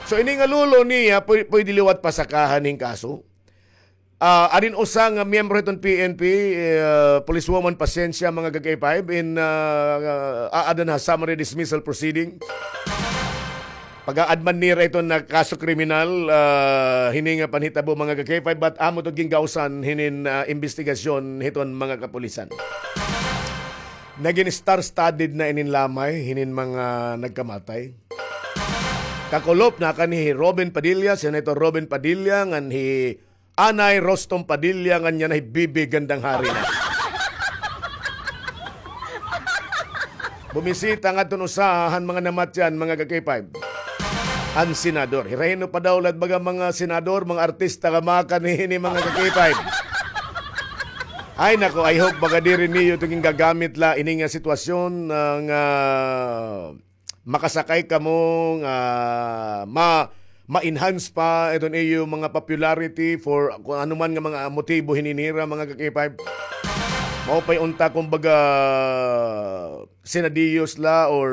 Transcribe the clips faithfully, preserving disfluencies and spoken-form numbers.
So, ini nga lolo niya, pwe-, pwede liwat pasakahan hin kaso. Ah, arin usa nga miyembro hiton P N P, ah, policewoman Pasencia, mga ka-K five, in, ah, ah, aadan ha summary dismissal proceeding. Pag-aad man nira iton nga kaso kriminal, ah, hini nga panhitabo, mga ka-K five, but amo to gingawsan hinin, ah, imbestigasyon hiton mga kapulisan. Nagin star-studded na inin lamay hinin mga nagkamatay. Kakulop na kan hi Robin Padilla, Senator Robin Padilla, ngan hi Anay Rostom Padilla, ngan yana hi Bibi Gandang Hari na. Bumisita ngadton usa han mga namatyan, mga ka-K five. An senador. Hira hin-o pa daw la it baga mga senador, mga artista nga makanhi hini, mga ka-K five. Ay, nako, I hope baga diri niyo ito gingagamit la ini nga sitwasyon, ah, nga makasakay kamo nga ma-, ma-enhance pa iton iyo mga popularity for kung ano man nga mga motibo hini nira, mga ka-K five. Mao pa'y unta, kumbaga, sinadiyos la or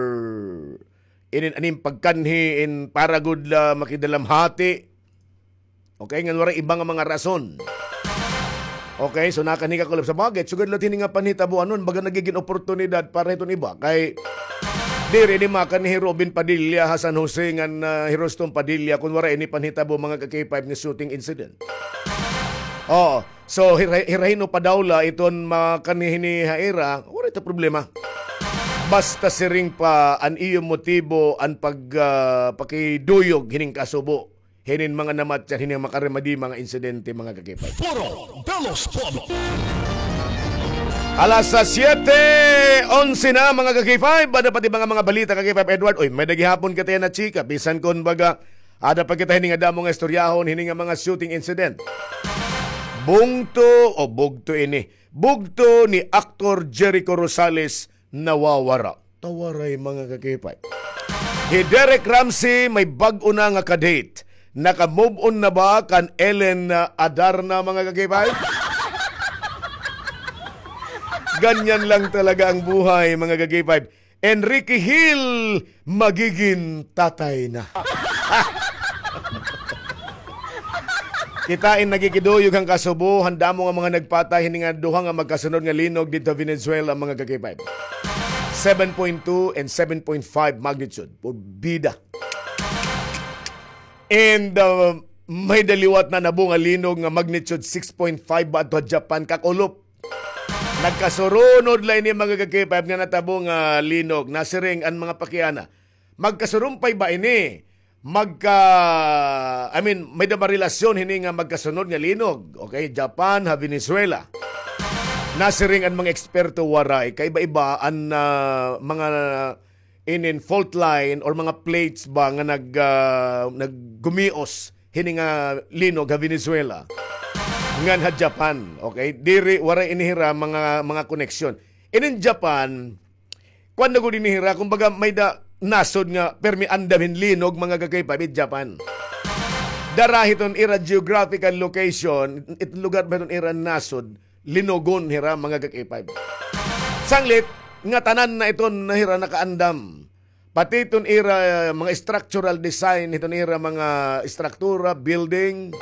inin aning pagkanhi in para gud la makidalamhati. Okay, ngan waray iba nga mga rason. Okay, so nakanhi, kakulop. Sa bagay, sugad la hini nga panhitabo, ano, baga nagigin oportunidad para hiton iba. Kay, diri ini makanhi hi Robin Padilla ha San Jose ngan, ah, hi Rostom Padilla, kun waray ini panhitabo, mga ka-K five, nga shooting incident. Oo. So, hira-, hira hin-o pa daw la iton makanhi hini ha ira, waray ta problema. Basta siring pa an iyo motibo an pag, ah, pakiduyog hining kasubo hinin mga namatyan, hini nga makaremadi mga insidente, mga ka-K five. Foro de los Pueblos. Alas siyete onse na, mga ka-K five. Ada pa it iba nga mga balita, ka-K five Edward? Uy, may-ada gihapon kita yana chika. Bisan kon baga, ada pa kita hini nga damo nga istoryahon, hini nga mga shooting incident. Bungto o bugto ini. Bugto ni Aktor Jericho Rosales nawawara. Tawaray, mga ka-K five. Hi Derek Ramsey may bag-o na nga ka-date. Naka-move on na ba kan Ellen, ah, Adarna, mga ka-K five? Ganyan lang talaga ang buhay, mga ka-K five. Enrique Hill magiging tatay na. Kita in nagikiduyog han kasubo han damo nga mga nagpatay hini nga duha nga magkasunod nga linog didto ha Venezuela, mga ka-K five. Seven point two and seven point five magnitude. Porbida. And, uh, may-ada liwat na nabo nga linog nga magnitude six point five ba adto ha Japan, kakulop. Nagkasurunod la ini, mga ka-K five, nga natabo nga linog. Nasiring an mga pakiana, magkasurumpay ba ini? Magka-, I mean, may-ada ba relasyon hini nga magkasunod nga linog? Okay, Japan, ha Venezuela. Nasiring an mga eksperto, waray. Kaiba-iba an, ah, mga inin fault line or mga plates ba nga nag-, ah, naggumios hini nga linog ha Venezuela ngan ha Japan, okay? Diri, waray ini hira mga, mga koneksyon. Inin Japan, kuan na gud ini hira, kumbaga, may-ada nasod nga permi andam hin linog, mga ka-K five, it Japan. Dara hiton ira geographical location, it lugar ba hiton ira nasod, linogon hira, mga ka-K five. Sanglit, nga tanan na iton na hira nakaandam. Pati iton ira, eh, mga structural design, iton ira mga istruktura, building,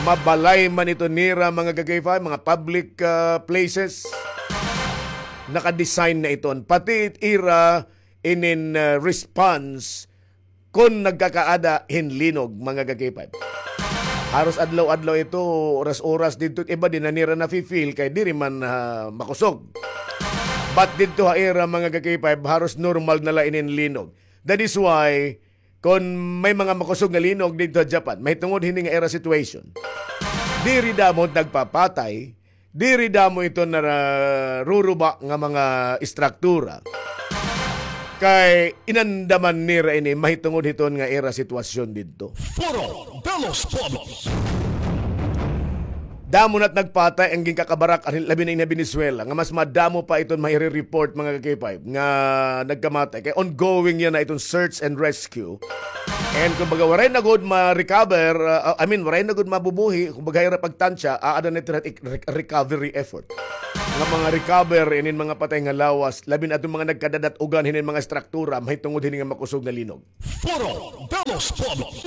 mabalay man iton nira, mga ka-K five, mga public, ah, places, naka-design na iton. Pati it ira inin, ah, response kon nagkakaada hin linog, mga ka-K five. Haros adlaw-adlaw ito, oras-oras didto, iba di na nira nafi-feel kay diri man, ah, makusog. But didto ha ira, mga ka-K five, haros normal na la inin linog. That is why, kon may mga makusog nga linog didto ha Japan, mahitungod hini nga ira situation, diri damo nagpapatay, diri damo iton naruruba nga mga istruktura. Kay inandaman nira ini mahitungod hiton nga ira sitwasyon didto. Foro de los Pueblos. Damo na't nagpatay an ginkakabarak-an, labi na ini ha Venezuela, nga mas madamo pa iton maire-report, mga ka-K five, nga nagkamatay. Kay ongoing yana iton search and rescue. And kumbaga, waray na gud ma-recover, uh, I mean, waray na gud mabubuhi, kumbaga, ira pagtansya, aada na ito ik-, re-, recovery effort. nga mga recover inin mga patay nga lawas, labi na adton mga nagkadadat-ugan hinin mga estruktura mahitungod hini nga makusog nga linog. Foro de los Pueblos.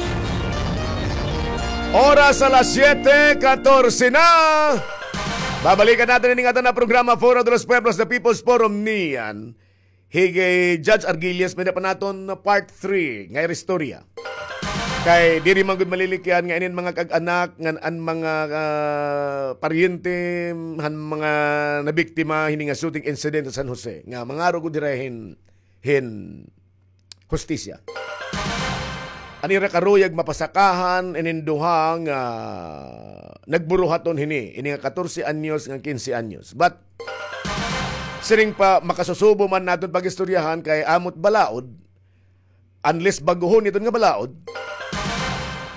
Oras alas siyete katorse na. Babalikan naton ini nga aton nga programa, Foro de los Pueblos, the People's Forum niyan. Hi Judge Argillas, may-ada pa naton part three nga ira istorya. Kay diri man gud malilikyan nga inin mga kag-anak ngan an mga, ah, paryente han mga nabiktima hini nga shooting incident sa San Jose nga mangaro gud hira hin, hin hustisya. An ira karuyag mapasakahan inin duha nga nagburuhaton hini, ini nga katorse anyos ngan kinse anyos. But siring pa, makasusubo man naton pag-istoryahan kay amo it balaod, unless bag-ohon iton nga balaod,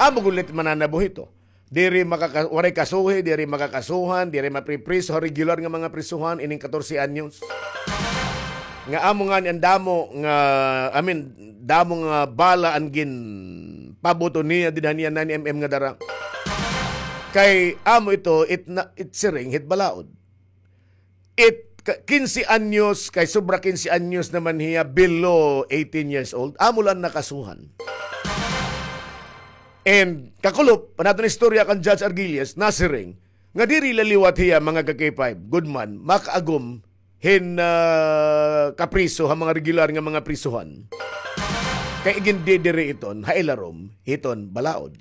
amo gud la it mananabo hito. Diri makaka-, waray kasuhi, diri makakasuhan, diri mapripriso ha regular nga mga prisuhan ining katorse anyos. Nga amo ngani an damo nga, I mean, damo nga bala an ginpabuto niya dinha niya nine M M nga dara. Kay amo ito, it na, it siring hit balaod. It ka-, kinse anyos, kay sobra kinse anyos naman hiya, below eighteen years old. Amo la an nakasuhan. And kakulop, an aton istorya kan Judge Argillas, nasiring nga diri la liwat hiya, mga ka-K five, gud man, makaagom hin, ah, kapriso ha mga regular nga mga prisuhan. Kay igindidiri iton ha ilarom hiton balaod.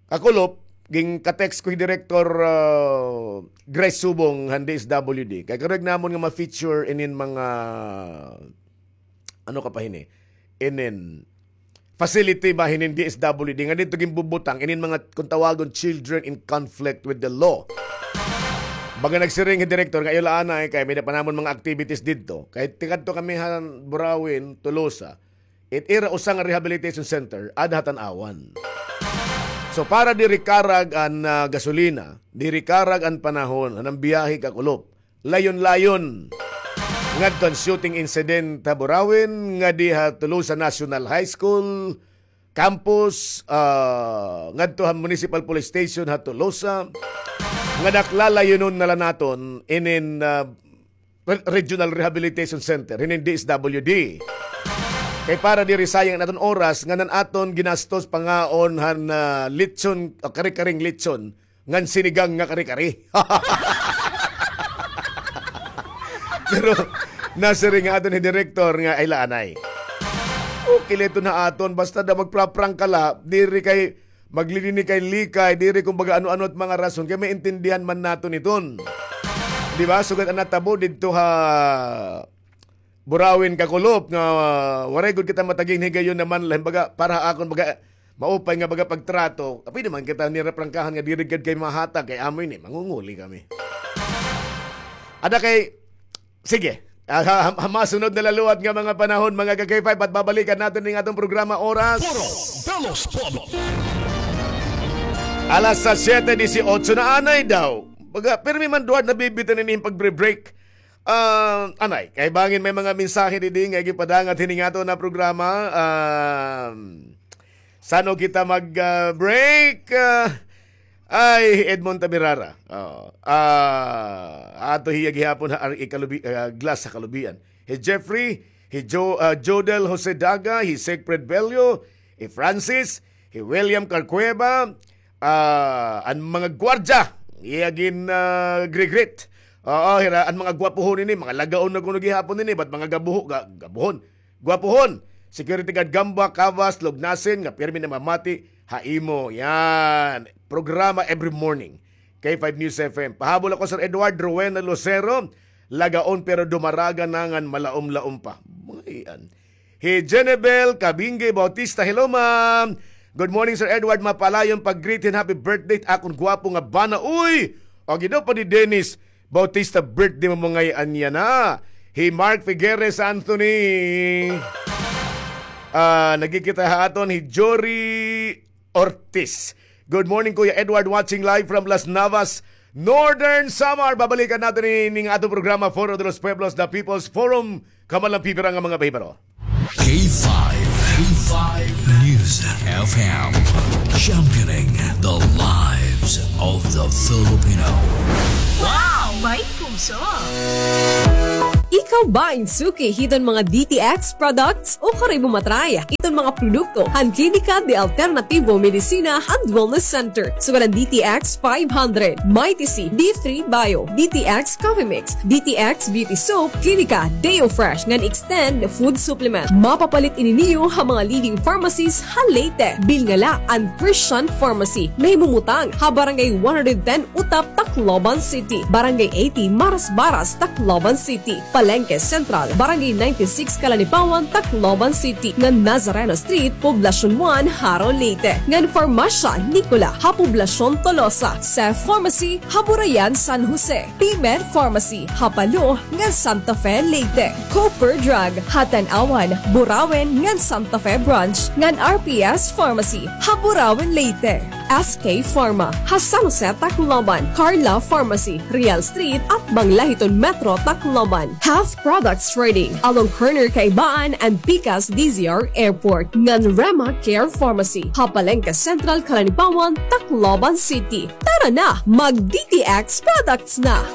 Kakulop, ginka-text ko hi Director, ah, Grace Subong han D S W D. Kay karuyag namon nga ma-feature inin mga, ano ka pa hini? Inin facility ba hinin D S W D nga didto ginbubutang inin mga, kung tawagon, children in conflict with the law. Baga nagsiring hi Director nga iyo la anay kay may-ada pa namon mga activities didto. Kay tikadto kami han Burauen, Tolosa. It ira usa nga rehabilitation center, ada ha Tanauan. So, para diri karag an, ah, gasolina, diri karag an panahon, an biyahe kakulop. Layon-layon. Ngadto an shooting incident ha Burauen, ngadi ha Tolosa National High School campus, ah, ngadto ha Municipal Police Station ha Tolosa. Nga dakla layonon na la naton inin, ah, Re-, Regional Rehabilitation Center, hinin D S W D. Kay para diri sayang an aton oras, ngan an aton ginastos pangaon han, ah, lechon, o kare-kareng lechon, ngan sinigang nga kare-kare. Pero nasiring nga aton hi Director nga ay la anay. Okay la iton ha aton, basta daw magpra-prank ka la, diri kay maglilikay-likay, diri kumbaga ano-ano it mga rason, kay maintindihan man naton iton. Di ba? Sugad an natabo didto ha Burauen kakulop nga, ah, waray gud kita mataging higayon naman la, baga, para ha akon, baga, maupay nga, baga, pagtrato. Pwede man kita nira prangkahan nga diri gad kay mahatag, kay amo ini, mangunguli kami. Ada kay, sige, ah, ha, ha, ha masunod na la liwat nga mga panahon, mga ka-K five, at babalikan naton ning aton programa oras. Foro de los Pueblos. Alas siyete dieciocho na anay daw. Baga, pirmi man duwad nabibitin ini pag-break. Ah, anay, kay bangin may mga mensahe didi nga gipadangat hini nga aton nga programa. Ah, san-o kita mag, ah, break? Ah, ay, Edmond Tabirara. Oh, ah, ato hiya gihapon ha, ar-, ikalubi-, ah, glass ha kalubian. Hi Jeffrey, hi Jo-, ah, Jodel Jose Daga, hi Siegfried Bello, hi Francis, hi William Carcueva, ah, an mga gwardya, iya gin, ah, gri-greet. Oo, hira, an mga gwapuhon ini, mga lagaon na kuno gihapon ini, but mga gabuho-, ga-, gabuhon. Gwapuhon, security guard Gamba, Cavas, Lugnasin, nga pirmi namamati ha imo. Yan, programa every morning. K five News F M. Pahabol ako, Sir Edward, Rowena Lucero, lagaon pero dumaraga na ngan malaom-laom pa. Mga iyan. Hi Jenebel Kabingge Bautista, hello, ma'am. Good morning, Sir Edward. Mapalayon pag-greet hin happy birthday akon gwapo nga bana. Uy! O, gidaw pa ni Dennis Bautista, birthday mo ngay-an yana. Hi Mark Figueres Anthony. Ah, nagkikita ha aton hi Jory Ortiz. Good morning, Kuya Edward, watching live from Las Navas, Northern Samar. Babalikan naton ini nga aton programa, Foro de los Pueblos, the People's Forum. Kamalang pipira nga mga bahibaro. K five, K five News F M, championing the live of the Filipino. Wow! May puso! Ikaw ba in suki hiton mga D T X products? O karoy mo matry iton mga produkto han Klinika de Alternativo Medicina and Wellness Center, sugad han D T X five hundred, Mighty C, D three Bio, D T X Coffee Mix, D T X Beauty Soap, Klinika Deo Fresh ngan Extend Food Supplement. Mapapalit ini niyo ha mga leading pharmacies ha Leyte. Bilngala an Christian Pharmacy, nahimumutang ha Barangay one hundred ten Utap, Tacloban City, Barangay eighty Marasbaras, Tacloban City, Palengke Central, Barangay ninety-six Calanipawan, Tacloban City, ngan Nazareno Street, Poblacion one, Jaro, Leyte, ngan Farmasya Nicola ha Poblacion Tolosa, Seth Pharmacy ha Burayan, San Jose, P-Med Pharmacy ha Palo ngan Santa Fe, Leyte, Cooper Drug ha Tanauan, Burauen ngan Santa Fe Branch, ngan R P S Pharmacy ha Burauen, Leyte. S K Pharma ha San Jose, Tacloban, Carla Pharmacy, Real Street, atbang la hiton Metro Tacloban, Health Products Trading along corner Kaibaan and Pikas D Z R Airport, ngan Rema Care Pharmacy ha Palengke Central, Calanipawan, Tacloban City. Tara na, mag D T X products na!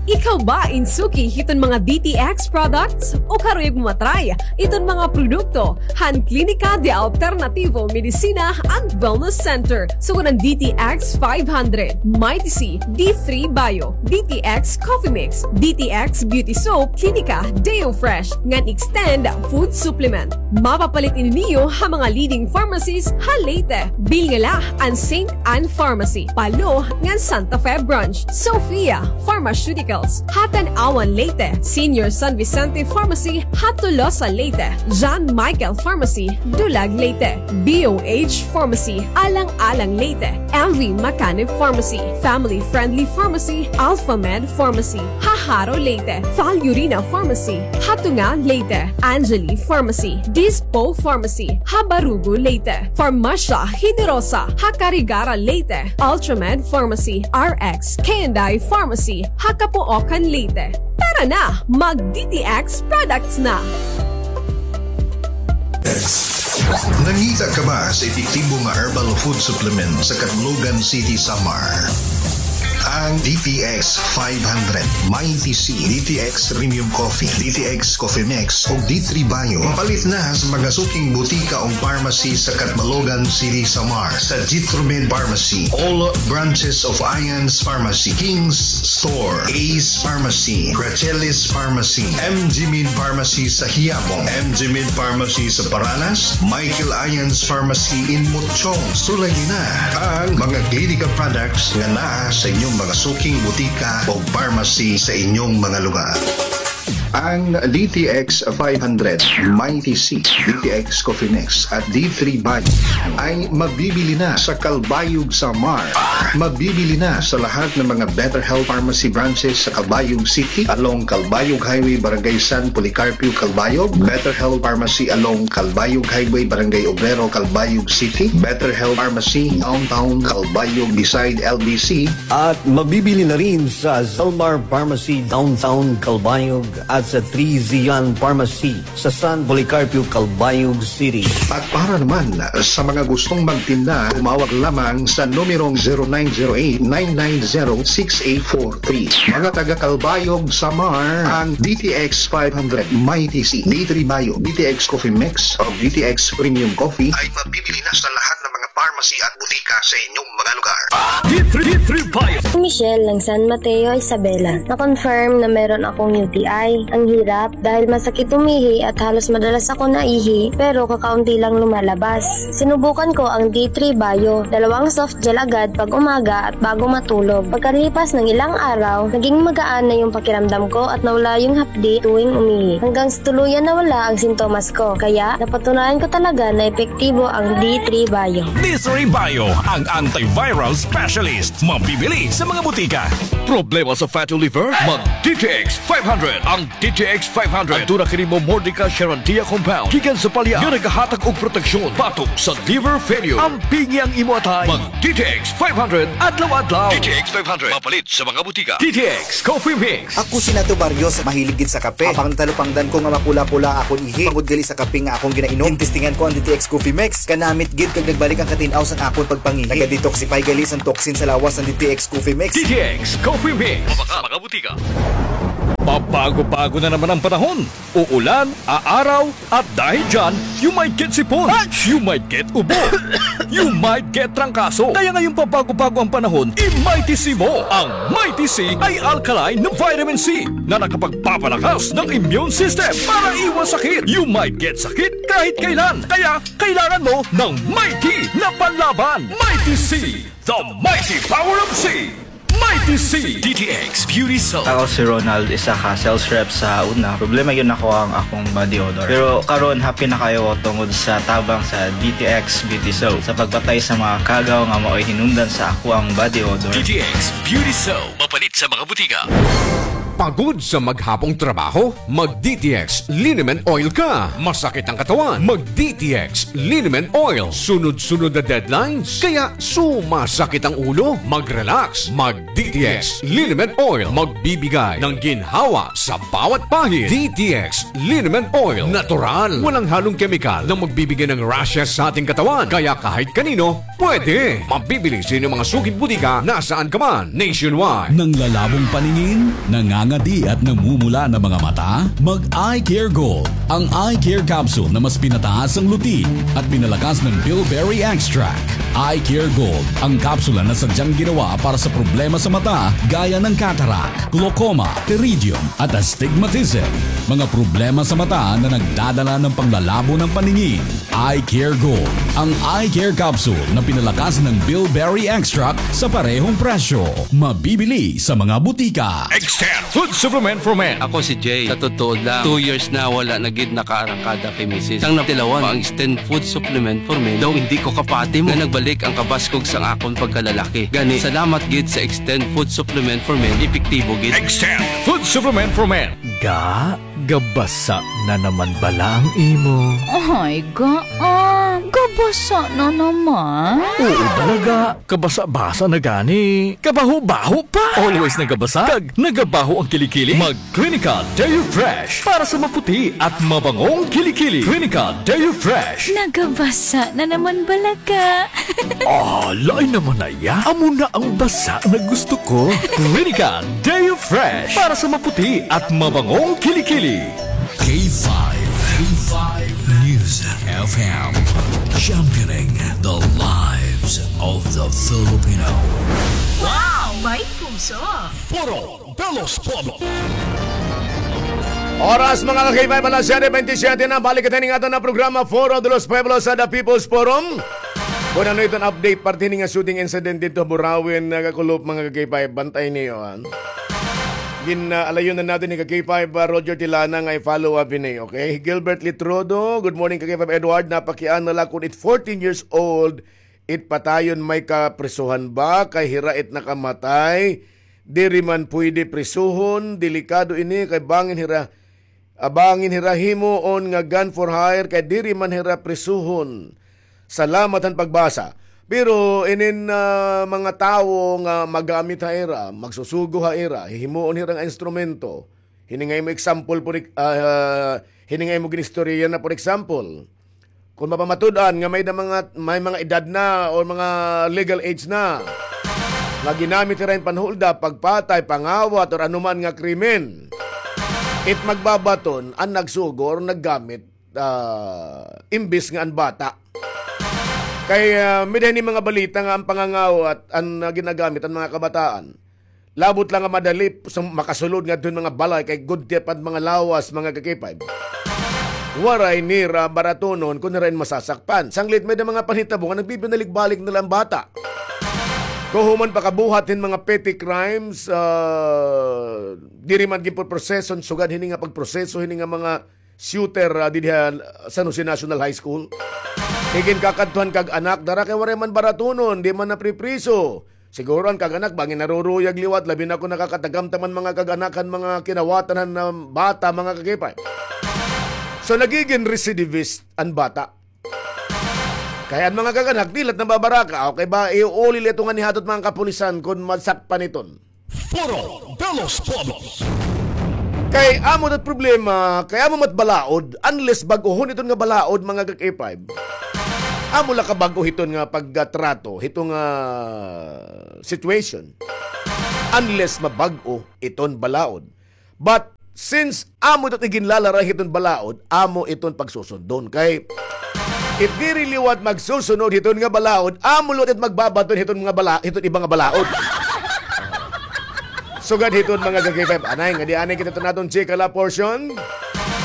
Ikaw ba in suki hiton mga D T X products? O karuyag mo matry iton mga produkto han Klinika de Alternativo Medicina and Wellness Center, sugad han D T X five hundred, Mighty C, D three Bio, D T X Coffee Mix, D T X Beauty Soap, Klinika Deo Fresh, ngan Extend Food Supplement. Mapapalit ini niyo ha mga leading pharmacies ha Leyte. Bilngala an Saint Anne Pharmacy, Palo ngan Santa Fe Branch, Sophia Pharmaceuticals ha Tanauan, Leyte, Senior San Vicente Pharmacy ha Tolosa, Leyte, John Michael Pharmacy, Dulag, Leyte, B O H Pharmacy, Alang-alang, Leyte, M V Macanib Pharmacy, Family Friendly Pharmacy, Alphamed Pharmacy ha Jaro, Leyte, Falurina Pharmacy ha Tunga, Leyte, Angeli Pharmacy, Dispo Pharmacy ha Barugo, Leyte, Farmasya Generosa ha Carigara, Leyte, Ultramed Pharmacy, R X K and I Pharmacy ha Capoocan, Leyte. Tara na, mag D T X products na! Nangita ka ba sa epektibo nga herbal food supplement sa Catbalogan City, Samar? An D T X five hundred, Mighty C, D T X Premium Coffee, D T X Coffee Mix, ug D three Bio. Mapalit na sa mga suking butika o pharmacy sa Catbalogan City, Samar, sa Jitromed Pharmacy, all branches of Ian's Pharmacy, King's Store, Ace Pharmacy, Gracelis Pharmacy, M G Med Pharmacy sa Quiapo, M G Med Pharmacy sa Paranas, Michael Ian's Pharmacy in Mochong. Sulayi na an mga Clinica products nga naa sa inyong mga suking butika o pharmacy sa inyong mga lugar. Ang D T X five hundred, Mighty C, D T X Coffee Mix at D three Bio ay mabibili na sa Calbayog, Samar. Mabibili na sa lahat ng mga Better Health Pharmacy branches sa Calbayog City, along Calbayog Highway, Barangay San Policarpio, Calbayog, Better Health Pharmacy along Calbayog Highway, Barangay Obrero, Calbayog City, Better Health Pharmacy Downtown Calbayog beside L B C, at mabibili na rin sa Zalmar Pharmacy Downtown Calbayog at sa Three Zion Pharmacy sa San Policarpio, Calbayog City. At para naman sa mga gustong magtinda, tumawag lamang sa numerong zero nine zero eight, nine nine zero, six eight four three. Mga taga Calbayog, Samar, ang D T X five hundred, Mighty C, D three Bio, D T X Coffee Mix, o D T X Premium Coffee ay mabibili na sa lahat ng mga pharmacy at butika sa inyong mga lugar. D three, D three Bio. Michelle ng San Mateo, Isabela. Na-confirm na meron akong U T I. Ang hirap dahil masakit umihi at halos madalas ako naihi, pero kakaunti lang lumalabas. Sinubukan ko ang D three Bio, dalawang soft gel agad pag umaga at bago matulog. Pagkalipas ng ilang araw, naging magaan na yung pakiramdam ko at nawala yung hapdi tuwing umihi. Hanggang sa tuluyan nawala ang sintomas ko. Kaya, napatunayan ko talaga na epektibo ang D three Bio. This Ray Bio, ang antiviral specialist. Mabibili sa mga butika. Problema sa fatty liver? Mag D T X five hundred. Ang D T X five hundred. Aduna kini Momordica charantia compound gikan sa palya nga nagahatag og proteksyon batok sa liver failure. Ampingi ang imo atay. Mag D T X five hundred adlaw-adlaw. D T X five hundred. Mapalit sa mga butika. D T X Coffee Mix. Ako si Nato Barrios, mahilig gid sa kape. Apang natalupangdan ko nga mapula-pula akon ihi tungod gali sa kape nga akon ginainom. Ginestingan ko ang D T X Coffee Mix. Kanamit gid kag nagbalik ang katin-aw sang akon pagpangihi. Naga-detoxify gali sang toxin sa lawas ang D T X Coffee Mix. D T X Coffee Mix. Mabaka, mga butika. Pabago-bago na naman ang panahon. Uulan, aaraw, at dahil dyan, you might get sipon. You might get ubo. You might get trangkaso. Kaya ngayong pabago-bago ang panahon, i-Mighty C mo. Ang Mighty C ay alkaline na vitamin C na nakapagpapalakas ng immune system para iwas sakit. You might get sakit kahit kailan. Kaya kailangan mo ng Mighty na panlaban. Mighty C, the mighty power of C. Mighty C. D T X Beauty Soap. Ako si Ronald, isa ka sales rep sa una. Problema gyud nako ang akong body odor. Pero karon, happy na kaayo ko tungod sa tabang sa D T X Beauty Soap sa pagpatay sa mga kagaw nga maoy hinungdan sa akoang body odor. D T X Beauty Soap. Mapalit sa mga butika. Pagod sa maghapong trabaho? Mag D T X Liniment Oil ka. Masakit ang katawan? Mag D T X Liniment Oil. Sunod-sunod na deadlines? Kaya sumasakit ang ulo? Mag-relax. Mag D T X Liniment Oil. Magbibigay ng ginhawa sa bawat pahid. D T X Liniment Oil. Natural. Walang halong kemikal na magbibigay ng rashes sa ating katawan. Kaya kahit kanino, pwede. Mabibili sa inyong mga suking butika nasaan ka man, nationwide. Nanglalabong paningin, nangangadi at namumula na mga mata? Mag Eye Care Gold, ang eye care capsule na mas pinataas ang luti at pinalakas ng bilberry extract. Eye Care Gold, ang kapsula na sadyang ginawa para sa problema sa mata gaya ng cataract, glaucoma, pterygium, at astigmatism. Mga problema sa mata na nagdadala ng panglalabo ng paningin. Eye Care Gold, ang eye care capsule na pinalakas ng bilberry extract sa parehong presyo. Mabibili sa mga butika. Extend Food Supplement for Men. Ako si Jay. Sa totoo lang, two years na wala na gid nakaarangkada kay misis. Sang natilawan ang Extend Food Supplement for Men, daw hindi ko kapati nga nagbalik ang kabaskog sang akon pagkalalaki. Gani, salamat gid sa Extend Food Supplement for Men, epektibo gid. Extend Food Supplement for Men. Ga, gabasa na naman bala ang imo? Ay, ga, ah, gabasa na naman. Oo bala, ga. Kabasa-basa na gani. Kabaho-baho pa. Always nagabasa. Kag nagabaho ang kilikili. Mag Clinical Deo Fresh para sa maputi at mabangong kilikili. Clinical Deo Fresh. Nagabasa na naman bala, ga. Ah, lain naman na iya. Amo na ang basa na gusto ko. Clinical Deo Fresh para sa maputi at mabangong kilikili. K five, K five News F M, championing the lives of the Filipino. Wow! May puso! Foro de los Pueblos. Oras, mga ka-K five, alas siyete bentisiete na. Balik kita ning aton na programa, Foro de los Pueblos, sa The People's Forum. Kun ano iton update, parte ini nga shooting incident didto Burauen, nagakulop, mga ka-K five, bantay niyo, ha. Gin, ah, alayon na naton ni ka-K five, ah, Roger Tilana nga i-follow up ini, okay? Gilbert Litrodo, good morning, ka-K five Edward. Napakiana la kun it fourteen years old, it patayon may kaprisuhan ba? Kay hira it nakamatay. Diri man pwede prisuhon, delikado ini kay bangin hira, ah, bangin hira himuon nga gun for hire kay diri man hira prisuhon. Salamat han pagbasa. Pero inin, ah, mga tawo nga magamit ha ira, magsusugo ha ira, hihimuon hira nga instrumento. Hini nga imo example, for ex-, ah, hini nga imo ginistorya na, for example, kon mapamatud-an nga may da mga, may mga edad na o mga legal age na, nga ginamit hira hin panhuldap, pagpatay, pangawat, or anuman nga krimen, it magbabaton an nagsugo or naggamit, ah, imbis nga an bata. Kay, ah, may-ada hini mga balita nga an pangangawat an, ah, ginagamit an mga kabataan. Labot la nga madali sa makasulod ngadto hin mga balay kay gudti pa an mga lawas, mga ka-K five. Waray nira baratunon kon hira in masasakpan. Sanglit may-ada mga panhitabo nga nagbibinalik-balik na la an bata. Kahuman pakabuhat hin mga petty crimes, ah, diri man ginpoproseso sugad hini nga pagproseso hini nga mga shooter, ah, dinhi ha San Jose National High School. Iginkakadtuhan kag anak, dara kay waray man baratunon, di man napripriso. Siguro an kag-anak, bangin naruruyag liwat, labi na kon nakakatagamtam an mga kag-anak han mga kinawatan han, ah, bata, mga ka-K five. So, nagigin recidivist an bata. Kay an mga kag-anak, di la it nababaraka. Okay ba, iuuli la ito ngan ihatot mga kapulisan kon masakpan iton. Foro de los Pueblos. Kay amo it problema, kay amo man it balaod, unless bag-ohon iton nga balaod, mga ka-K five. Amo la kabag-o hiton nga pagtrato, hiton nga situation. Unless mabag-o iton balaod. But since amo ito it iginlalaray hiton balaod, amo iton pagsusundon. Kay if diri liwat magsusunod hiton nga balaod, amo liwat it magbabaton hiton nga bala-, hiton iba nga balaod. Sugad hiton mga ka-K five. Anay, ngadi anay kita hiton aton chika la portion.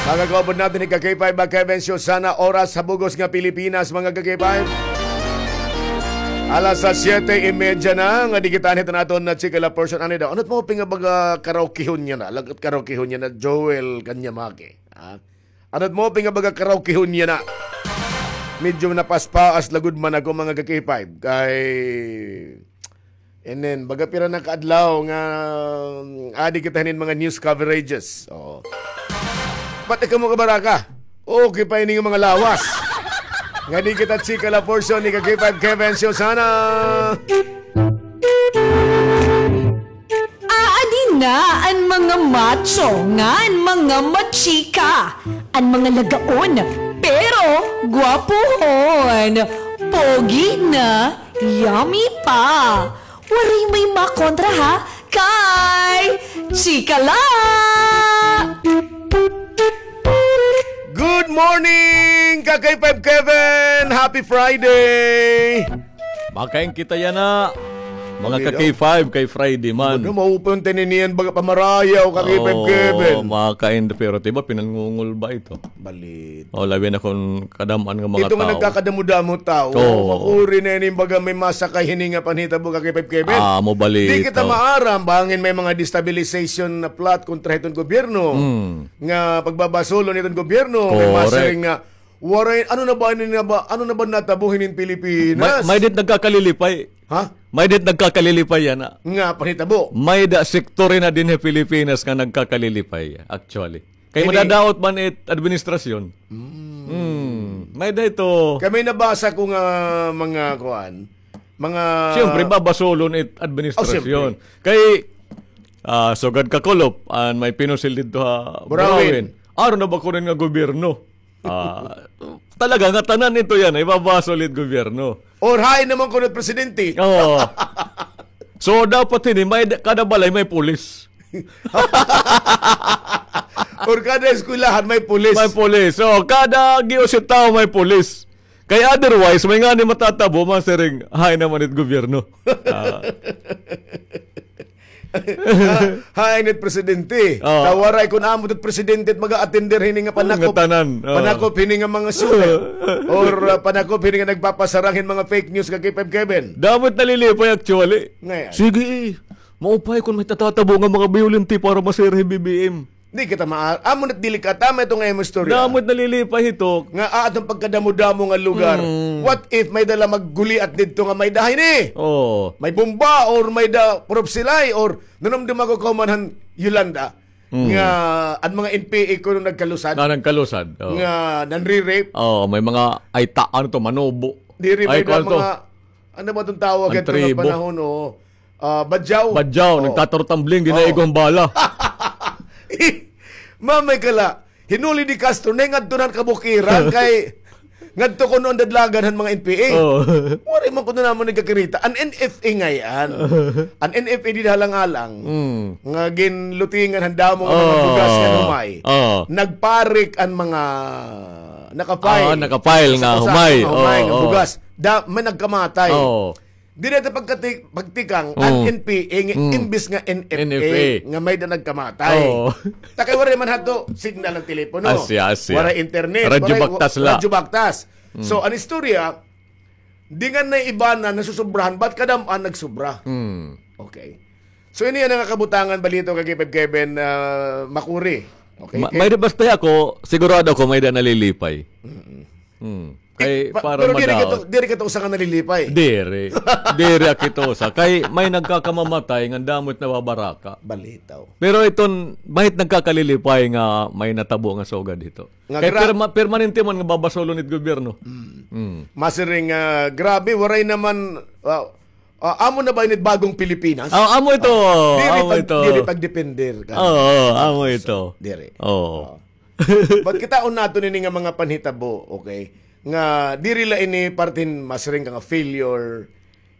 Mga kaupod naton ni ka-K five, mga Kevin, Susana, oras ha bug-os nga Pilipinas, mga ka-K five. Alas sa siyete y media na, ngadi kita hiton aton nga chika la portion. Anay daw, ano it maupay nga baga karaokehon niya na? Lagot karaokehon niya na, Joel Kanyamake. Ha? Ano it maupay nga baga karaokehon niya na? Medyo napaspaas lagod man ako, mga ka-K five. Kay, and then, baga pira na ka adlaw nga, mm, adi kita hinin mga news coverages. Oo. Pati kamo kabaraka. Okay pa ini nga mga lawas. Ngadi kita chika la portion ni ka-K five Kevin Susana. Aadi na an mga macho ngan mga machika, an mga lagaon, pero gwapohon, pogi na, yummy pa. Waray may makontra ha, kay chika la! Good morning, ka-K five Kevin! Happy Friday! Makain kita yana. Mga ka-K five, kay Friday man. Ano, maupay an tininian baga pamarayaw, ka-K five Kevin. Oo, makain, pero tiba, pinangungol ba ito? Balit. O, labi na kon kadam-an nga mga tawo. Ito nga nagkakadamo-damo tawo. Oo. Makuri na ini baga may masakay hini nga panhitabo, ka-K five Kevin. Ah, mo balit. Di kita maaram, bangin may mga destabilization na plot kontra hiton gobyerno. Hmm. Nga pagbabasolon hiton gobyerno, may masiring nga Waray, ano na ba, ano na ba, ano na ba natabo hinin Pilipinas? May, may dit nagkakalilipay. Ha? May dit nagkakalilipay yana. Nga panhitabo. May da sektor na dinhi Pilipinas nga nagkakalilipay, actually. Kay madadaot man it administrasyon. Hmm. May da ito. Kay may nabasa ko nga mga kuan, mga Siyempre, babasolon it administrasyon. Oh, siyempre. Kay, ah, sugad kakulop, an may pinusil didto ha Burawin. Burawin. Aro na ba kuno nga gobyerno? Ah, talaga nga tanan ito yana, ibabasol it gobyerno. Or hain naman kuno it presidente. Oo. So, dapat hini, may da-, kada balay may pulis. Or kada eskwelahan may pulis. May pulis. So, kada giusitaw may pulis. Kay otherwise, may ngani matatabo, masiring, hain naman it gobyerno. Ah. Ha, hain it presidente. Oo. Ta waray kon amo it presidente it mag-a-attender hini nga panakop. Nga tanan, oo. Panakop hini nga mga sulat. Or, ah, panakop hini nga nagpapasarang hin mga fake news, ka-K five Kevin. Damo it nalilipay actually. Ngayon. Sige, eh. Maupay kon may tatatabo nga mga biyolente para masira hi B B M. Di kita ma-, amo na it delikata, may ito nga imo istorya. Damo it nalilipay hito. Nga, ah, atong pagkadamo-damo nga lugar. Mm. What if may dala magguliat didto nga may da hini? Oo. May bomba or may da propsilay or nanumdum ako kauman han Yolanda. Mm. Nga, an mga N P A kuno nagkalusad. Na nagkalusad, oo. Nga, nanri-rape. Oo, may mga, ay ta-, ano to, manobo. Diri may da mga, ano ba itong tawag ito nga panahon, oo. Ah, badyaw. Badyaw, nagtatarotambling, dinaigo han bala. Mamay kala, hinuli ni Castro, nahingadto na han kabukiran, kay ngadto kuno an dadlagan han mga N P A. Oo. Waray man kuno namon nagkakirita. An N F A ngay-an. An N F A dida ha Alang-alang, nga ginlutingan han damo nga mga bugas nga humay. Oo. Nagparik an mga naka-file. Ah, naka-file nga humay. Nga humay, nga bugas. Da, may nagkamatay. Oo. Diri ta pagkati-, pagtikang, an N P A nga imbis nga N F A nga may da nagkamatay. Oo. Ta kay waray man hadto signal an telepono. Asya, asya. Waray internet. Radyo baktas la. Radyo baktas. So, an istorya, di nga na iba na nasusobrahan, but kadam-an nagsobra. Okay. So, ini an nga kabutangan, balita, ka-K five Kevin, ah, makuri. Okay, may da basta ako, sigurado ako, may da nalilipay. Mm. Ay, pa-, para pero diri ka madaot. To, diri ka to usa nga nalilipay. Diri. Diri ak ito usa. Kay may nagkakamamatay nga damo it nababaraka. Balitaw. Pero iton, mahit nagkakalilipay nga may natabo nga sugad hito. Nga Kay gra- perma-, permanente man nga babasolon it gobyerno. Mm. Mm. Masiring, ah, grabe, waray naman, ah, ah, amo na ba ini bagong Pilipinas? Ah, amo ito. Ah, diri amo pag-, ito. Diri pagdepender ka. Oo, amo ito. Diri. Oo. Oo. But kitaon naton ini nga mga panhitabo, okay? Nga diri la ini parte hin masiring ka nga failure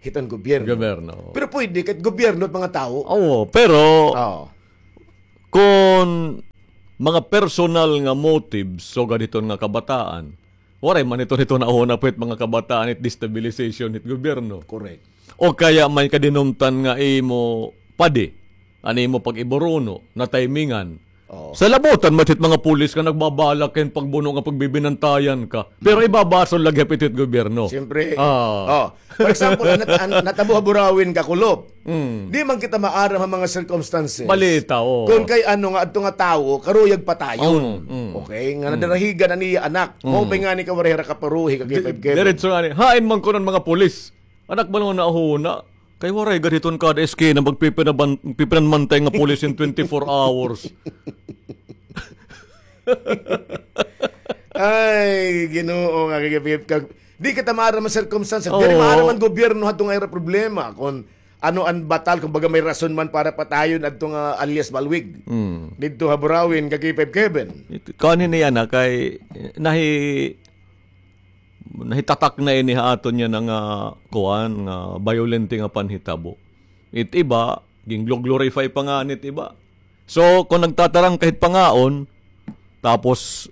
hiton gobyerno. Gobyerno. Pero pwede, kahit gobyerno at mga tao. Oo, pero Oo. Kon mga personal nga motives, sugad hiton nga kabataan, waray man hiton, hiton nauna pa hit mga kabataan, it destabilization hit gobyerno. Correct. O kaya may kadinumtan nga imo padi, an imo pag-iburuno, natimingan. Oo. Salabutan man hit mga pulis nga nagbabalak hin pagbuno nga pagbibinantayan ka. Pero ibabasol lagi hapit hit gobyerno. Siyempre. Ah. Oh. For example, an, an, natabo ha Burauen, Kakulop. Mm. Di man kita maaram ha mga circumstances. Balita, oo. Kung kay ano nga, adto nga tawo, karuyag patayon. Mm, mm. Okay? Nga Mm. nadarahigan an iya anak. Mm. Maupay ngani ka waray hira kaparuhi, ka Di-, K five Kevin. Diretso ngani. Hain man kuno an mga pulis. Anak man nga nahuna. Kay waray gad hiton kada eskina, magpipinaban-, magpipinanmantay nga pulis in twenty-four hours. Ay, Ginoo, nga kay, kag-, di kita maaram an circumstance. Diri Oo. maaram an gobyerno hadto nga ira problema. Kung ano an batal, kung baga may rason man para patayon adto nga alias Balwig. Mm. Didto ha Burauen, ka K five Kevin. It-, kuan ini yana kay, eh, nahi-, nahitatak na ini ha aton yana nga, kuan, nga violente nga panhitabo. It iba, gin-glo-, glorify pa ngani it iba. So, kung nagtatarang ka hit pangaon, tapos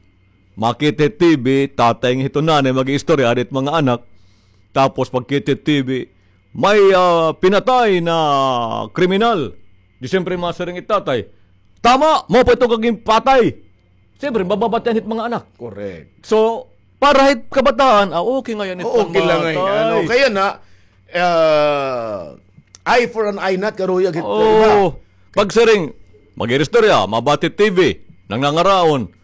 makita hit T V, tatay nga hito nanay mag-iistorya, adi it mga anak, tapos pagkita hit T V, may, ah, pinatay na kriminal. Di siyempre masiring it tatay, "Tama, mao pa ito ka ginpatay." Siyempre, mababatian hit mga anak. Correct. So, para hit kabataan, ah, okay ngay-an it Oo, okay lang ngay-an. Ano, pagmatay. Kaya na, ah, eye for an eye, not karuyag hit Oo. iba. Pagsiring, mag-iristorya, mabati T V, nangangaraon.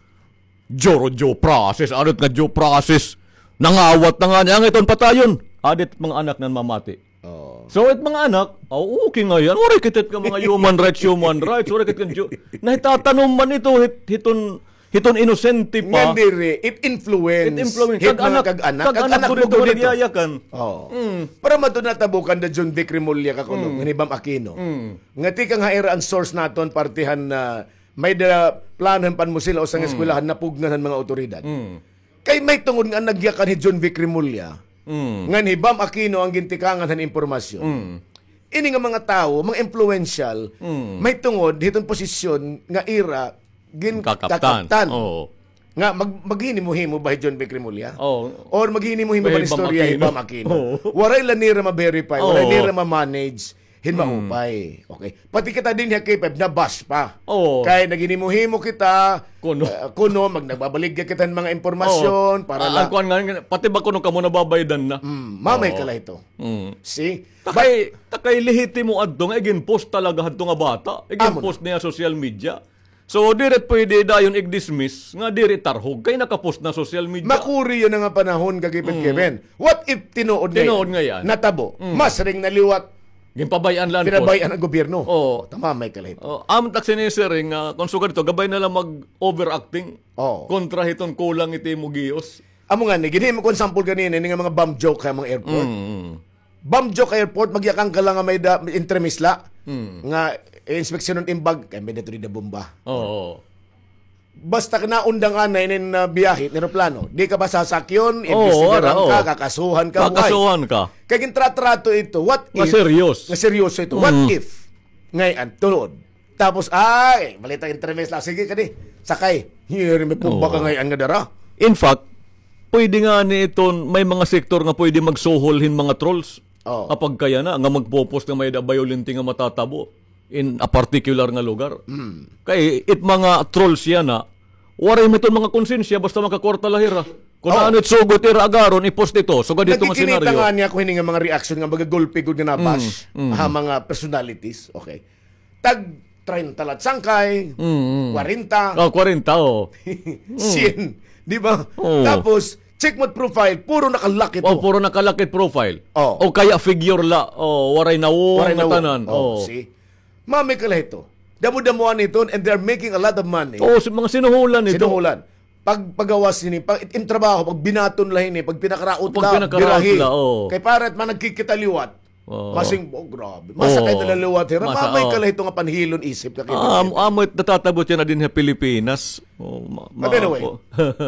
Due, due process, ano nga due process? Nangawat na ngani, an iton patayon. Adi it mga anak nan mamati. Oo. So, it mga anak, "Oh, okay ngay-an. Waray kita it nga mga human rights, human rights. Waray kita it nga ju-," nahitatanom man ito, hit-, hiton, hiton inosente pa. Ngan diri, it influence. It influence. Hit mga kag-anak, kag-anak, kag-anak gud ito nga nagyayakan. Oo. Mm. Para man ito natabo kanda John Vic Remulla, Kakulop, Mm. ngan hi Bam Aquino. Mm. Nga tikang ha ira an source naton, parte han, ah, may-ada plano hin panmusil ha usa nga Mm. eskwelahan, napugngan han mga awtoridad. Mm. Kay may tungod nga nagyakan hi John Vic Remulla, Mm. ngan hi Bam Aquino an gintikangan han impormasyon. Mm. Ini nga mga tawo, mga influential, Mm. may tungod hiton posisyon nga ira gin-, Kakaptan. kakaptan. Oo. Nga mag-, maghinimo-himo ba hi John Vic Remulla? Oo. Or maghinimo-himo ba Kay Bam istorya hi Aquino. Bam Aquino? Oo. Waray la nira ma-verify, waray Oo. nira ma-manage hin Mm. maupay. Okay. Pati kita dinhi ha K five, na-bash pa. Oo. Kay naghinimo-himo kita, Kuno. ah, kuno, mag-, nagbabaligya kita hin mga impormasyon Oo. para Ah, la- ang kuwan nga, pati ba kuno kamo nababaydan na? Mm, mamay Oo. ka la ito. Mm. See? Takay, takay lehitimo adto nga igin-post talaga hadto nga bata. Igin-post niya social media. So, diri pwede dayon i-dismiss nga diri tarhog kay naka-post na social media. Makuri yana nga panahon, Kagipit Mm. Kevin. What if tinuod ngay-an? Tinuod ngay-an. Natabo. Mm. Masiring na liwat. Ginpabay-an la an post. Pinabayaan an gobyerno. Oo. O, tama, may kalahit. O, amo tak sinisiring nga, kon sugad ito, gabay na la mag-overacting Oo. kontra hiton kulang it imo gihos. Amo ngani, ginhimo ko an sample ganina, ini nga mga bomb joke ha mga airport. Mm, mm. Bomb joke airport, magyakan ka la nga may-ada, may entremesa la. Mm. Nga, eh, inspeksyonon im bag, kay may-ada ito dida bomba. Oo. Basta ka naundang anay inin, ah, biyahe, nin eroplano. Di ka ba sasakyon, Oo, imbestigaran ara, ka, oo. kakasuhan ka, buhay. Kakasuhan ka. Kay gintratrato ito, what Nga if, serious. nga seryoso ito, what Mm. if, ngay-an, tuod. Tapos, ay, balita entremesa la. Sige, kadi, sakay. Hiri, may pumba ka Oo. ngay-an nga dara. In fact, pwede ngani iton, may mga sektor nga pwede magsuhol hin mga trolls. Oo. Apagkayana, nga magpo-post nga may-ada violente nga matatabo in a particular nga lugar. Mm. Kay it mga trolls yana, waray man iton mga konsensya, basta makakwarta la hira. Kon Oo. ano it sugot ira agaron, i-post ito. Sugad ito nga Nagkikinita senaryo. nga niya ako hini nga mga reaction nga magagulpi gud nga na-bash Mm, mm. ha mga personalities. Okay. Tag treinta la it sangkay, Mm, mm. kwarenta. Oh, kwarenta, oh. Mm. Sien. Di ba? Oo. Tapos, Check mo it profile, puro nakalock ito. Oh, puro nakalock it profile. Oh. O kaya figure la, oh, waray na wo, waray na wo, tanan. Oh, oh. See? Mamay ka la hito. Damo-damoan iton, and they're making a lot of money. Oh, si-, mga sinuhulan ito. Sinuhulan. Pag pagawas ini, pag it-, im trabaho, pag binaton la ini, pag pinakaraot la, pag pinakaraot birahi la, oh. Kay para it mga nagkikita liwat. Oo. Masing, oh, grabe. Masakay na la liwat hira. Masa-, mamay ka la hito nga panhilon isip ka kay, ah, amo, amo it natatabot yana dinhi ha Pilipinas. Oh, ma-, but anyway,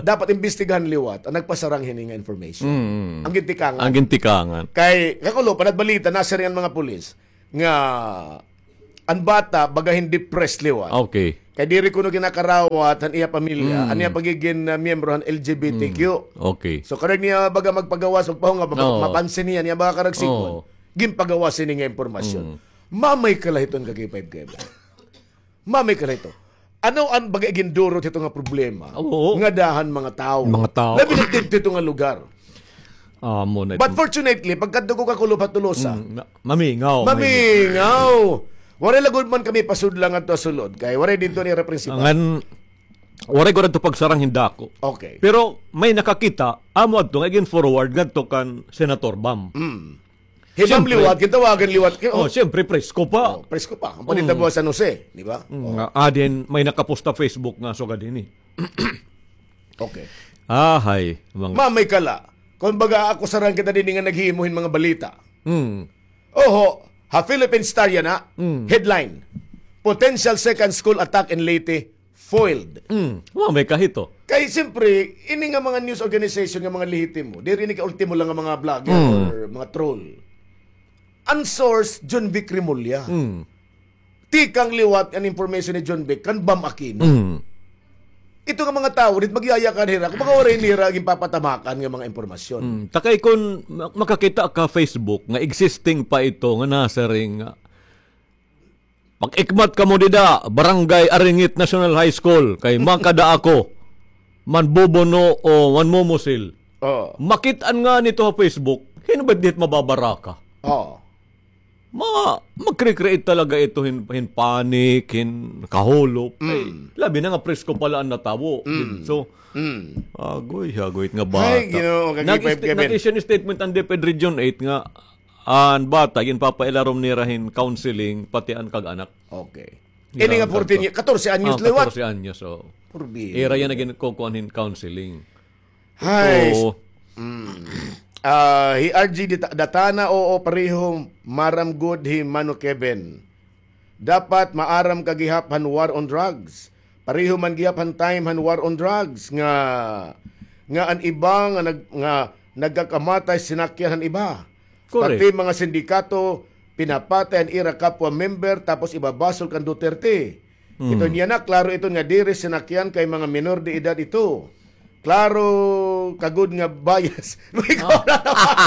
dapat imbestigahan liwat an nagpasarang hini nga information. Mm. An gintikangan. An gintikangan. Kay, kakulop, an nagbalita, nasiring an mga pulis nga an bata, baga hin depressed liwat. Okay. Kay diri kuno ginakarawat han iya pamilya, mm, an iya pagigin, ah, miyembro han L G B T Q. Mm. Okay. So, karuyag niya baga magpagawas, magpahunga, ma-, oo, mapansin niya, niya baga karuyag sigon. Oo. Ginpagawas ini nga impormasyon. Mm. Mamay ka la hito an ka K five K B. Mamay ka la hito. Ano an baga gindurot hito nga problema? Oo. Nga dahan mga tawo. Mga tawo. Labi na didto nga lugar. Amo na. But fortunately, pagkadto ko kakulop ha Tolosa, mm, na-, mamingaw, mamingaw. Mamingaw. Waray la gud man kami pasudla ngadto ha sulod, kay waray didto an ira principal. Ngan, waray gud adto pagsarang hin dako. Okay. Pero may nakakita, amo adto nga igin-forward ngadto kan Senator Bam. Mm. Hi Bam liwat, gintawagan liwat. Oh, oh, siyempre, presko pa. Oh, presko pa. An panita buwas San Jose, di ba? Mm, oh. Nga, adin, may nakapost ha Facebook nga sugad hini. Okay. Ahay, mga mamay ka la. Kon baga ako sarang kita dinhi nga naghimo hin mga balita. Mm. Oho, ha Philippine Star yana, mm, headline, "Potential second school attack in Leyte foiled." Mm. Mamay ka hito. Kay siyempre, ini nga mga news organization nga mga lehitimo, diri ini ka ultimo la nga mga vlogger, mm, or mga troll. An source, John Vic Remulla. Mm. Tikang liwat an information ni John Vic kan Bam Aquino. Mm. Ito nga mga tawo, diri magyayakan hira, kung baga waray nira ginpapatamakan nga mga impormasyon. Mm. Ta kay kon ma-, makakita ka Facebook nga existing pa ito nga nasiring nga, "Pag-ikmat kamo dida, Barangay Aringit National High School, kay makada ako, manbubuno o manmumusil." Oo. Makit-an ngani ito ha Facebook, hin-o ba diri mababaraka? Oo. Ma-, mag-create talaga ito hin, hin panic, hin kahulop. Mm. Ay, labi na nga presko pa la an natawo. Mm. So, mm, agoy, agoy nga bata. Ay, Ginoo, nag-, nag-issue hin statement an DepEd Region eight nga an bata, ginpapailarom nira hin counseling, pati an kag-anak. Okay. Ini nga fourteen, katorse anyos liwat. Katorse anyos, oo. Purbi. Ira yana ginkukuan hin counseling. Hay. Oo. Mm. Ah, hi R G Data-, Datana, oo, pareho, maaram gud hi Mano Kevin. Dapat maaram ka gihap han war on drugs. Pareho man gihap han time han war on drugs nga, nga an iba nga nag-, nga nagkakamatay sinakyan han iba. Correct. Pati mga sindikato, pinapatay an ira kapwa member, tapos ibabasol kan Duterte. Hmm. Ito niya na, klaro ito nga diri sinakyan kay mga minor de edad ito. Klaro, kagud nga bias. May ko na naman.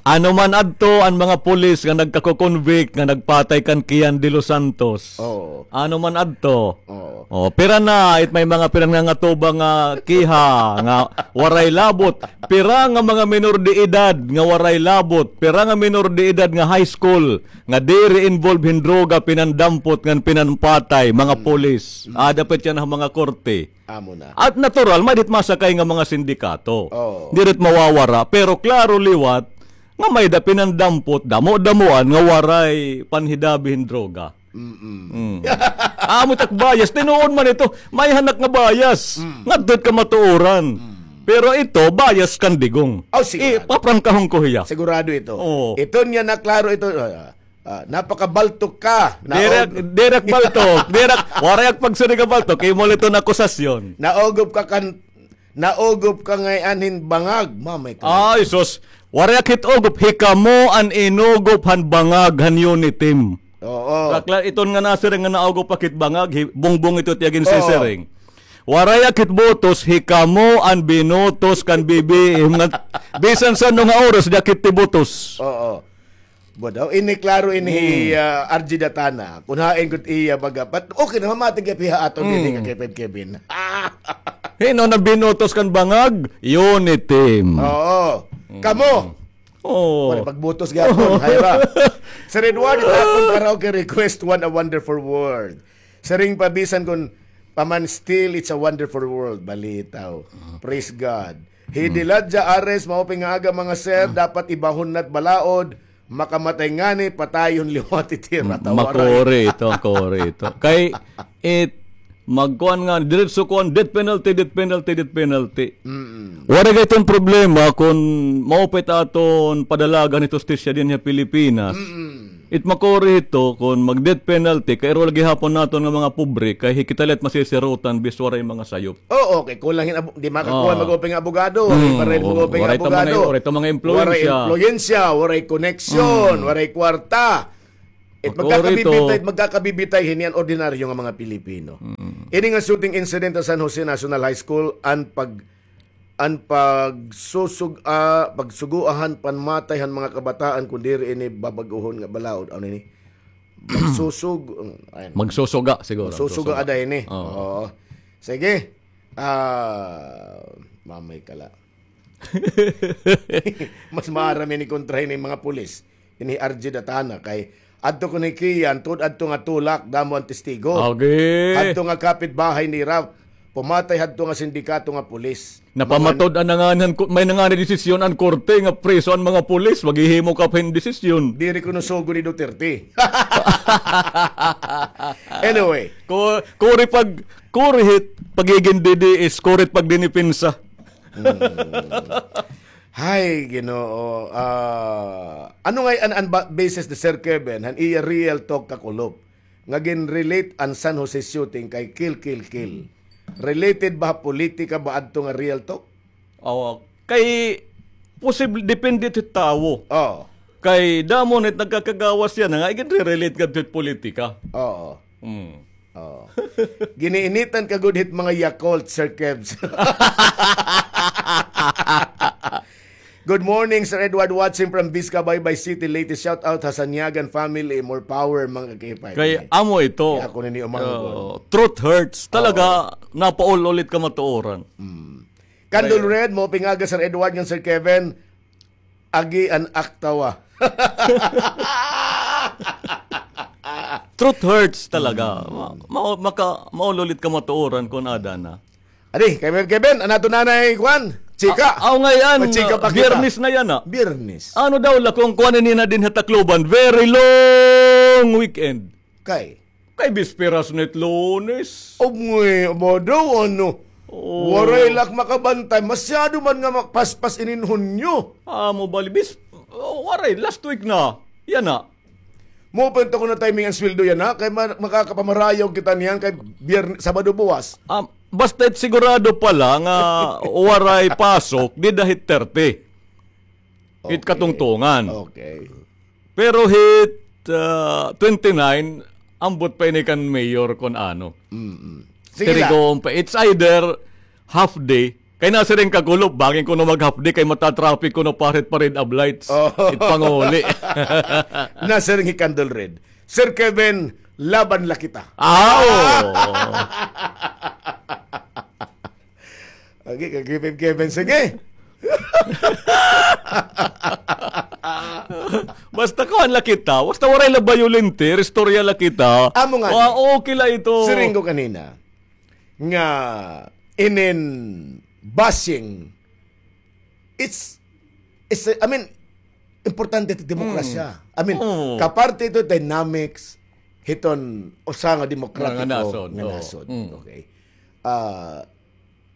Ano man adto an mga pulis nga nagkako-convict nga nagpatay kan Kian de los Santos? Oo. Ano man adto? Oo. Oh, pira na, it may mga pinangangatuba nga kiha nga waray labot. Pira nga mga minor de edad nga waray labot. Pira nga minor de edad nga high school nga diri involved hin droga, pinandampot ngan pinanpatay, mga pulis. Mm. Ada pa tiyan ha mga korte. Amo na. At natural, may dit masakay nga mga sindikato. Oo. Diri it mawawara, pero klaro liwat nga may da pinandampot, damo-damoan nga waray panhidabi hin droga. Mm-mm. Mm. Amo tak bias, tinuod man ito, may hanak nga bias. Mm. Ngadto it kamatuoran. Mm. Pero ito, bias kan Digong. Oh, sigurado. Ipaprangkahon ko hiya. Sigurado ito. Oo. Ito niya na klaro ito. Ah, ah, napakabaltok ka. Diri ak, diri ak baltok. Diri ak, waray ak pagsiring nga baltok. Imo la ito nga akusasyon. Naugop ka kan, naugop ka ngay-an hin bangag. Mamay ka. Ay, sus. Waray ak hit ugop. Hikamo an inugop han bangag han Uniteam. Oo. Bakla, iton nga nasiring nga naugop ak hit bangag, hi-, bungbong ito it iya ginsisiring. Oo. Waray ak hit botos, hikamo an binotos kan B B M nga bisan san-o nga oras, di ak hit tibotos. Oo. Bo daw, ini klaro ini hi, ah, R G Datana. Kun hain gud iya baga. But okay na, mamati gihap hiya aton dinhi ka Kevin, Kevin. Hin-o an binotos kan bangag? Uniteam. Oo. Kamo. Oo. Wala pagbotos gihapon. Hay ba? Sir Edward, it akon karaoke request, What a Wonderful World. Siring pa bisan kun Paman still, it's a wonderful world. Balitaw. Praise God. Hidi Ladja Ares, maupay nga aga, mga sir. Dapat ibahon na't balaod. Makamatay ngani, patayon liwat it ira. Tawaray. Makuri ito, makuri ito. Kay, it, magkuan nga, diretso kuan, death penalty, death penalty, death penalty. Waray gad iton problema kon maupay it aton padalagan it hustisya dinhi ha Pilipinas. It makuri ito kon mag-death penalty, kay iro la gihapon naton nga mga pobre, kay hi kita la it masisirutan, bis waray mga sayop. Oo, kay kulang hin abo-, di makakuha mag-open nga abogado, waray pa rin mag-open nga abogado. Waray ta mga impluwensya. Waray impluwensya, waray koneksyon, waray kwarta. It magkakabibitay, magkakabibitay hini an ordinaryo nga mga Pilipino. Ini nga shooting incident sa San Jose National High School, an pag-, an pagsusug-, ah, pagsugoa han panmatay han mga kabataan, kun diri ini babag-ohon nga balaod. Ano ini? Magsusug-, ayan. Magsusuga siguro. Magsusuga ada ini. Oo. Oo. Sige. Ah, mamay kala. Mas maaram ini kontra ini mga pulis. Ini R J Datana kay adto kuno hi Kian, tuod adto nga tulak, damo an testigo. Agi. Adto nga kapitbahay nira, pumatay hadto nga sindikato nga pulis. Napamatud-an na ngani, may na ngani desisyon an korte nga preso an mga pulis, maghihimo ka pa hin desisyon. Diri kuno sugo ni Duterte. Anyway. Ku-, kuri pag, kuri hit pagigin D D S, kuri hit pagdinipensa. Hmm. Hay, Ginoo. Ah, ano ngay an, an ba-, basis ni Sir Kevin, han iya real talk kakulop, nga gin-relate an San Jose shooting kay kill, kill, kill? Related ba ha politika ba adto nga real talk? Oo. Kay, posible, depende hit tawo. Oo. Kay, damo na it nagkakagawas yana nga, igin-relate gad hit politika. Oo. Mm. Oo. Giniinitan ka gud hit mga Yakult, Sir Kevs. Good morning, Sir Edward, watching from Vizcabaybay City, Leyte. Shout out ha Sanyagan family, more power, mga kakipay. Kay amo ito. Kay ako nini umangkon. Oo. Truth hurts. Talaga, napaul-ulit ka matuoran. Mm. Candle Red, maupay nga aga, Sir Edward, ngan Sir Kevin. Agi an aktawa. Truth hurts talaga. Mm. Ma-, ma-, maka-, maul-ulit ka matuoran kon ada na. Adi, Kevin, Kevin, an aton nanay, kuan, chika. A-, aw, ngay-an, magchika pa kita. Biyernes na yana. Biyernes. Ano daw la kon kuan ini na dinhi ha Tacloban? Very long weekend. Kay? Kay bisperas na it Lunes. Ugngay, aba daw, ano? Oo. Waray la ak makabantay. Masyado man nga makpaspas inin Hunyo. Amo bali, bis-, oh, waray, last week na. Yana. Mo pa ito ko na timing an sweldo yana, kay ma-, makakapamarayaw kita niyan kay Biyer-, Sabado buwas. Ah, basta it sigurado pala nga waray pasok, dida hit thirty. Hit katungtungan. Okay. Pero hit, ah, twenty-nine, ambot pa ini kan mayor kon ano. Mm-mm. Sige la. Tirigoon pa. It's either half day, kay nasiring kakulop, bangin kuno mag-half day, kay mata-traffic kuno pa hit pa red ablights. Oh. It panguli. Nasiring hi Candle Red, Sir Kevin, laban la kita. Aw! Agi, kay Kevin, Kevin, sige. Basta kuan la kita, basta waray la bayolente, istorya la kita. Amo nga. Wa, okay la ito. Siring ko kanina, nga inin bashing, it's, it's, I mean, importante it demokrasya. Mm. I mean, kaparte ito dynamics hiton usa nga demokratiko nga nasod. Nga nasod. Mm. Okay. Ah,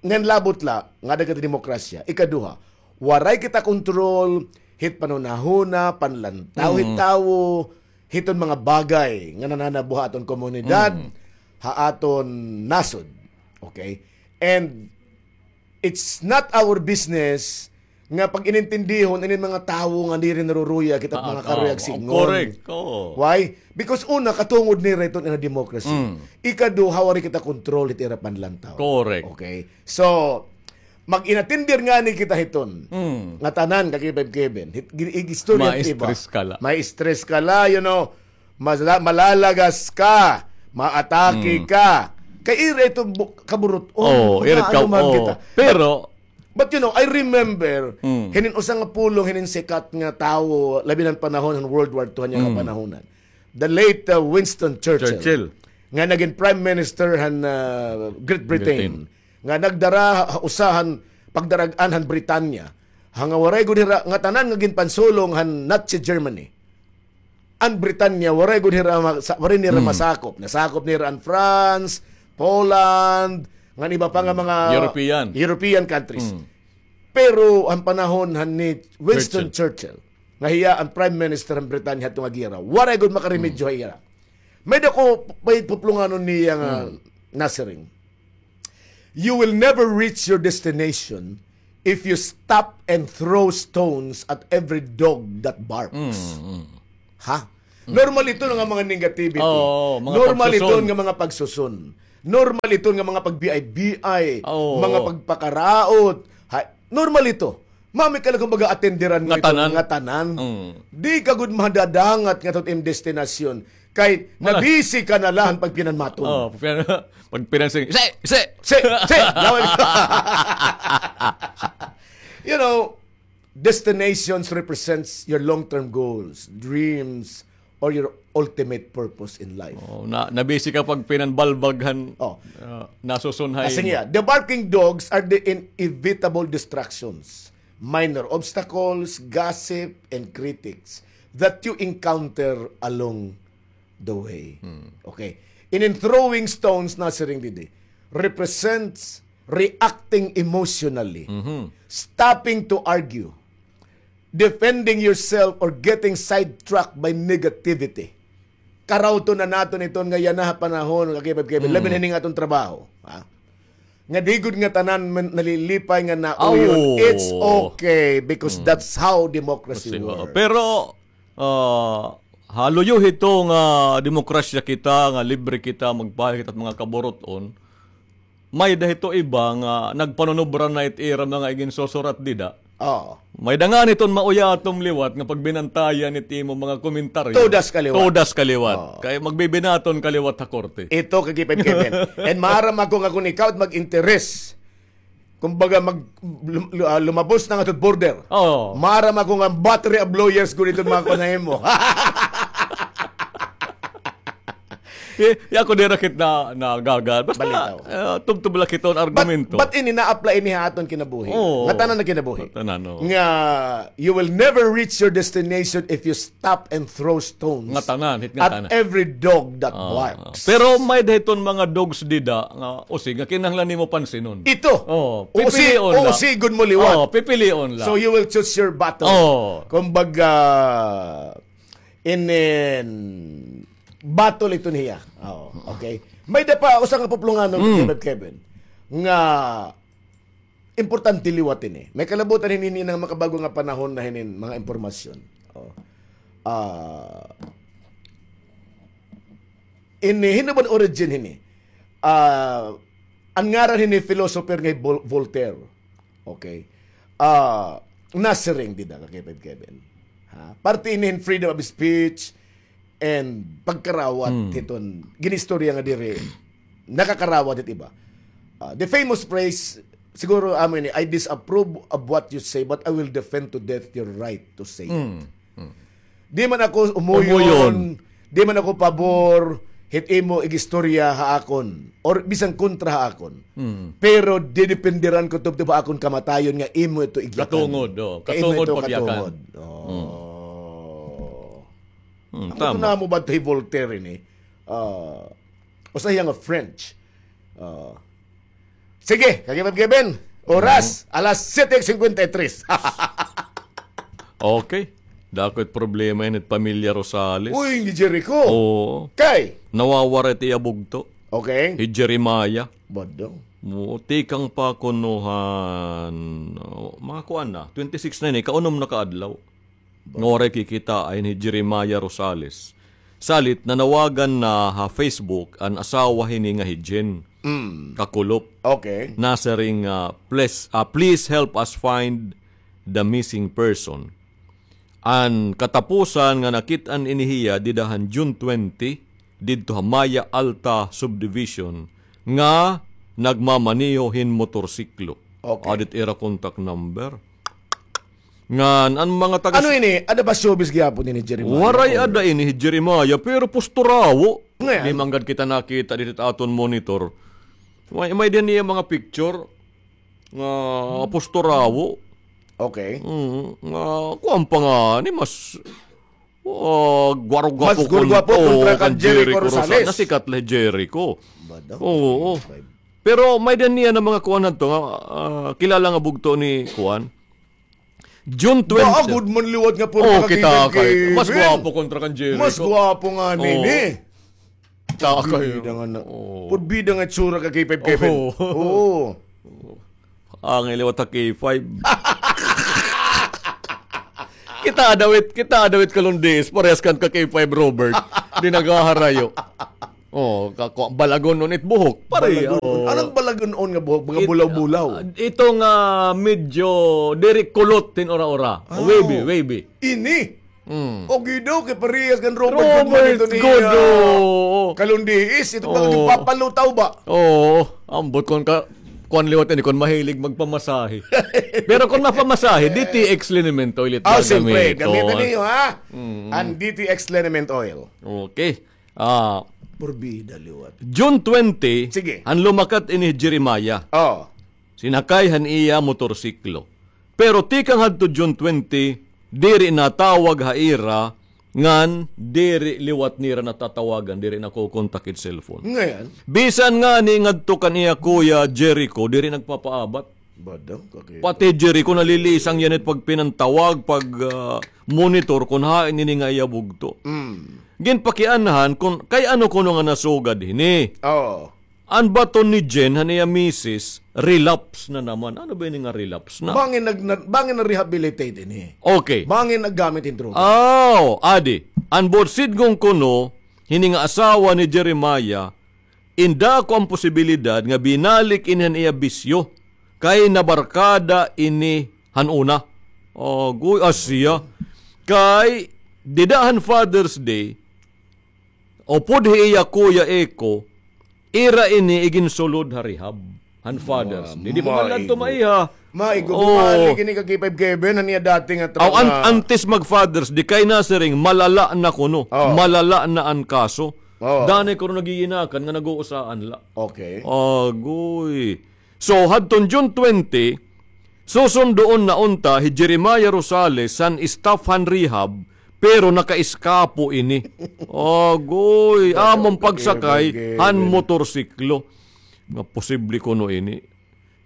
ngan labot la nga ada kita demokrasya. Ikaduha, waray kita kontrol hit panhunahuna, panlantaw hit tawo, hiton mga bagay nga nananabo ha aton komunidad, ha aton nasod. Okay? And it's not our business nga pag-inintindihon inin mga tawo nga diri naruruyag hit mga karuyag sidngon. Correct. Oo. Why? Because una, katungod nira iton ira democracy. Mm. Ikaduha, waray kita kontrol hit ira panlantaw. Correct. Okay? So, mag-inatindir ngani kita hiton. Mm. Nga tanan, kakipay Kevin. Hit, gi-, ig-istorya iba. Ma-stress ka la. Ma-stress ka la, you know. Masala-, malalagas ka, maatake ka. Kay ira ito bu-, kaburut-on. Oh, ira ka, oh. Pero, but, you know, I remember, hinin usa nga pulong, hinin sikat nga tawo, labi na han panahon han World War Two, han iya kapanahonan. The late, uh, Winston Churchill. Churchill. nga nagin Prime Minister han, ah, Great Britain, Britain, nga nagdara ha usa han pagdarag-an han Britanya, ha nga waray gud hira, ngatanan nga ginpansulong han Nazi Germany. An Britanya, waray gud hira ma-, sa-, waray nira, hmm, masakop. Nasakop nira an France, Poland, ngan iba pa nga, hmm, mga European, European countries. Hmm. Pero an panahon han ni Winston Churchill, Churchill, nga hiya an Prime Minister han Britanya hadto nga gera, waray gud makaremedyo, hmm, ha ira. May-ada ko, may puplonganon niya nga, hmm, Nasiring. You will never reach your destination if you stop and throw stones at every dog that barks. Mm, mm. Ha? Mm. Normal iton nga mga negativity. Oo, mga pagsusun. Normal iton nga mga pagsusun. Normal iton nga mga pag-B I B I, oo, mga pagpakaraot. Ha, normal ito. Mami ka lang, kumbaga, atenderan nga ito, ngatanan. Ngatanan. Mm. Di ka gud madadangat ngadto ha im destinasyon. Kay, wala, nabisi ka na la han pagpinanmaton. Oh, pagpinan-, pagpinansing, "Si! Si! Si! Si!" Laway. You know, destinations represents your long-term goals, dreams, or your ultimate purpose in life. Oh, na, nabisi ka pagpinanbalbag han, oh, ah, nasusun ha imo. Kasi nga, the barking dogs are the inevitable distractions, minor obstacles, gossip, and critics that you encounter along the way. Hmm. Okay. Inin throwing stones, Nasiring, didi, represents reacting emotionally, mhm, stopping to argue, defending yourself, or getting sidetracked by negativity. Karawton na naton iton nga yana ha panahon, Kakipad Kevin, hmm, labi na hini nga aton trabaho, ha? Nga di gud ngatanan man nalilipay nga nauyon. Aw. It's okay because, hmm, that's how democracy, kasi, oo, works. Pero, ah, ha luyo hito nga demokrasya kita, nga libre kita magpahayag hit at mga kaburut-on, may-ada hito iba nga nagpanunubra na it ira mga iginsusurat dida. Oo. May-ada ngani iton mauya aton liwat nga pagbinantayan it imo mga komentaryo. Todas ka liwat. Todas ka liwat. Oo. Kay magbibinaton ka liwat ha korte. Ito, Kakipad Kevin. And maaram ako nga kon ikaw it mag-interes, kumbaga, mag-, lum-, lu-, ah, lumabos na ngadto ha border. Oo. Maaram ako nga battery of lawyers gud iton mga kuan ha imo. Di, di ako dira kit na, nagagal. Basta, balitaw, ah, tubtob la kit an argumento. But, but ini na-apply ini ha aton kinabuhi. Oo. Ngatanan nga kinabuhi. Ngatanan, oo. Nga, you will never reach your destination if you stop and throw stones, ngatanan, hit ngatanan, at every dog that, ah, barks. Pero may-ada hiton mga dogs dida nga usig nga kinahanglan nimo pansinon. Ito. Oo, pipilion la. Usi-, usigon mo liwat. Oo, pipilion la. So you will choose your battle. Oo. Kumbaga, inin battle iton hiya. Oo, okay. May-ada pa usa nga puplonganon, mm, Kevin, Kevin, nga importante liwat ini. May kalabutan hini, hini nga makabag-o nga panahon na hinin mga impormasyon. Oh. Ah, ini, hin-o ba an origin hini? Ah, an ngaran hini philosopher nga hi Vol-, Voltaire. Okay. Ah, nasiring dida, Kakipad Kevin. Ha? Parte ini hin freedom of speech and pagkarawat, hmm, hiton gin-istorya nga diri nakakarawat hit iba. Ah, the famous phrase, siguro amo ini, "I disapprove of what you say, but I will defend to death your right to say it." Hmm. Hmm. Di man ako umuyon, umuyon, di man ako pabor hit imo igistorya ha akon or bisan kontra ha akon. Hmm. Pero didependeran ko tubtob ha akon kamatayon nga imo ito igyakan. Katungod, oh. Kay imo ito katungod, pagyakan. Oh. Hmm. Hmm, tama. Ako, tuna mo ba ito hi Voltaire ini? Ah, usa hiya nga French. Ah. Sige, Kakipad Kevin. Oras, mhm, alas siyete cincuenta y tres. Okay. Dako it problema ini hit pamilya Rosales. Uy, ni Jericho. Oo. Kay? Nawawara it iya bugto. Okay. Hi Jeremiah. Bado. Oo, tikang pa kuno han, oh, mga kuan na, twenty-six na ini, kaunom na ka adlaw. Nga waray kikitaay ni Jeremiah Rosales. Salit, nanawagan na ha Facebook an asawa hini nga hi Jen, mm, Kakulop. Okay. Nasiring nga, "Please, ah, please help us find the missing person." An katapusan nga nakit-an ini hiya dida han June twenty, didto ha Maya Alta Subdivision nga nagmamaneho hin motorsiklo. Okay. Adi it ira contact number. Ngan an mga taga... Ano ini? Ada ba showbiz gihapon ini, Jeremiah? Waray ada ini hi Jeremiah, pero pusturawo. Ngayon? Di man gad kita nakita dito sa aton monitor. May, may din niya mga picture nga apostol Rawo. Okay. Mm, nga kuwan pa nga ni mas, ah, gwargwapo. Mas gwargwapo kontra kan Jericho Rosales. Nasikat la Jericho. Oo. Pero may din niya na mga kuwan na to nga, ah, kilala nga bugto ni kuwan. June twenty. Ba, good man liwat nga porma kita kay mas gwapo kontra kan Jericho. Mas gwapo nga nini. Kita kayo. Purbida nga na. Purbida nga tsura ka K five Kevin. Oo. Ang liwat ha K five. Kita dawit, kita dawit kalundis, parehas kan ka K five Robert. Di naghaharayo. Oh, ka, ka, balagon-on it buhok. Pare, balagon-on. Anong balagon-on nga buhok? Mga bulaw-bulaw. Ito nga medyo diri kulot tin ora-ora. Wavy, wavy. Ini? Mm. Okay daw, kay parehas kan Robert Goodman ito ni, ah, Kalundiis. Ito pa, nagpapalutaw ba? Oo, ambot kon ka, kuan liwat ini, kon mahilig magpamasahe. Pero kon mapamasahe, D T X liniment oil it gagamiton. Siyempre, gamiton niyo, ha? An D T X liniment oil. Okay. Ah, purbida liwat. June twenty, sige, han lumakat ini Jeremiah. Oh. Sinakay han iya motorsiklo. Pero tikang hadto June twenty, diri natawag ha ira ngan diri liwat nira natatawagan, diri nakokontak it cellphone. Ngayon? Bisan ngani ngadto kan iya kuya Jericho, diri nagpapaabat. Pati Jericho nalilisang yana it pagpinantawag, pag, ah, monitor kon hain ini nga iya bugto. Mm. Ginpakianhan kon kay ano kuno nga nasugad hini. Oo. An baton ni Jen han iya misis, relapse na naman. Ano ba ini nga relapse na? Bangin nag-, na-, bangin na-rehabilitate ini. Okay. Bangin naggamit hin droga. Aw, adi. An buot sidngon kuno, hini nga asawa ni Jeremiah, in dako an posibilidad nga binalik ini han iya bisyo, kay nabarkada ini han una. Agoy, asya. Kay, dida han Father's Day, upod hi iya kuya Eko, ira ini iginsulod ha rehab. Han Father's Day. Di pa man la adto maiha. Maigo, bumalik ini ka K five Kevin, han iya dati nga trauma. Aw, an-, antes mag Father's Day, kay nasiring, malala na kuno. Oh. Malala na an kaso. Oh. Danay kuno nagiginakan nga nag-uusaan la. Okay. Agoy. So, hadton June twenty, susundoon na unta hi Jeremiah Rosales han staff han rehab, pero nakaiskapo ini. Agoy, amon pagsakay han motorsiklo. Nga posible kuno ini.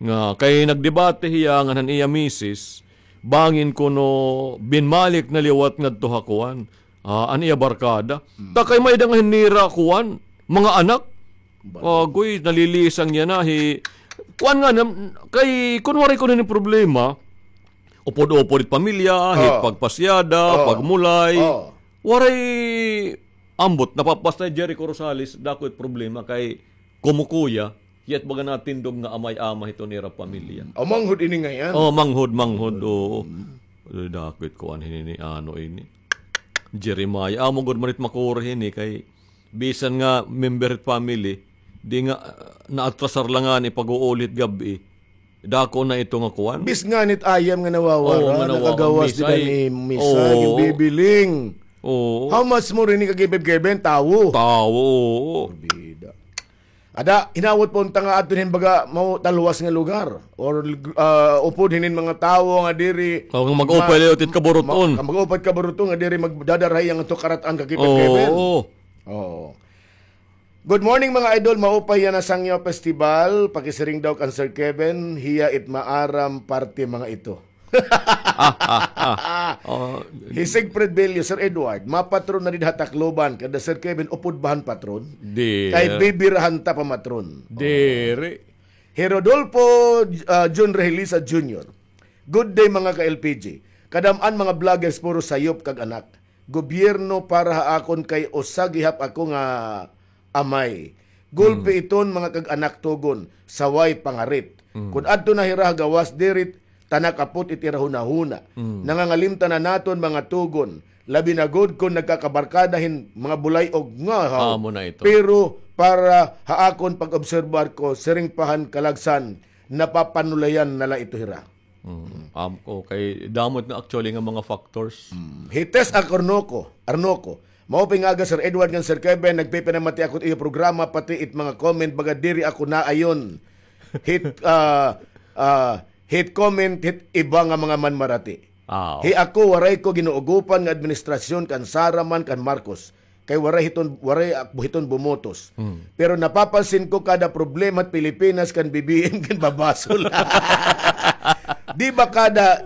Nga kay nagdebate hiya ngan han iya misis, bangin kuno binmalik na liwat ngadto ha kuan, ah, an iya barkada. Hmm. Ta kay may-ada nga hin nira kuan, mga anak. Agoy, nalilisang yana hi kuan nga nam-, kay kun waray kuno ini problema, upod-upod it pamilya, hit pagpasyada, pagmulay. Waray ambot, napapastay Jericho Rosales, dako it problema kay kumukuya, yet baga natindog nga amay-amay hito nira pamilya. O, manghod ini ngay-an. O, manghod, manghod, oo. Dako it kuan hini ni ano ini. Jeremiah, amo gud man it makuri hini kay bisan nga member hit family, di nga, ah, naatrasar la ngani pag-uuli hit gab-i. Dako na ito nga kuan. Bis nganit ayam nga nawawara, nga nakagawas dida ni Misa, ginbibiling. Oo. How much more ini ka K five Kevin? Tawo. Tawo, oo. Bida. Ada, hinawot pa unta nga adto hin baga mao talwas nga lugar. Or, ah, upod hinin mga tawo nga diri. O, nga mag-upay liwat it kaburuton. Mag-upay kaburuton nga diri magdadarahay ang ato karat-an ka K five Kevin. Oo. Oo. Good morning, mga idol. Maupay yana Sangyaw Festival. Pakisiring daw kan Sir Kevin, hiya it maaram parte mga ito. Hi Siegfried Bello, Sir Edward, mapatron na dida ha Tacloban, kada Sir Kevin, upod ba han patron? Kay bibirahan ta pamatron. Diri. Hi Rodolfo, ah, Jun Rehelisa Junior. Good day, mga ka-L P G. Kadam-an mga vloggers, puro sayop kag anak. Gobyerno para ha akon kay usa gihap ako nga amay. Gulpi iton mga kag-anak tugon, saway pangarit. Kun adto na hira ha gawas dirit, ta nakapot it ira hunahuna. Nangangalimtan na naton mga tugon, labi na gud kun nagkakabarkada hin mga bulay-og nga haw. Amo na ito. Pero para ha akon pag-obserbar ko, siring pa han kalagsan, napapanulayan na la ito hira. Mm. Am, okay. Damo na actually nga mga factors. Mm. Hi Tess Arnoco, Arnoco, Maupay nga aga, Sir Edward ngan Sir Kevin, nagpipinamati ako it iyo programa, pati it mga comment, baga diri ako naayon. Hit, ah, ah, hit comment, hit iba nga mga manmarati. Ah, hi ako, waray ko ginuugopan nga administrasyon kan Sara man kan Marcos. Kay waray hiton, waray ak-, hiton bumotos. Mm. Pero napapansin ko kada problema at Pilipinas kan B B M kan babasol. Di ba kada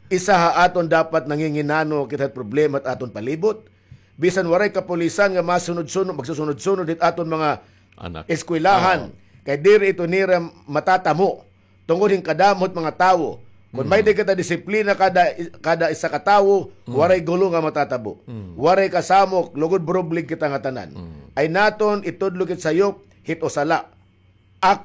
isa ha aton dapat nanginginano kita problema at aton palibot? Bisan waray kapulisan nga masunod-sunod, magsusunod-sunod hit aton mga Anak. Eskwelahan. Oo. Kay diri ito nira matatamo. Tungod hin kadamo hit mga tawo. Kon may di kita disiplina kada, kada isa ka tawo, waray gulo nga matatabo. Waray kasamok, lugod burublig kita nga tanan. Ay naton itudlo kit sayop, hit usa la. Ako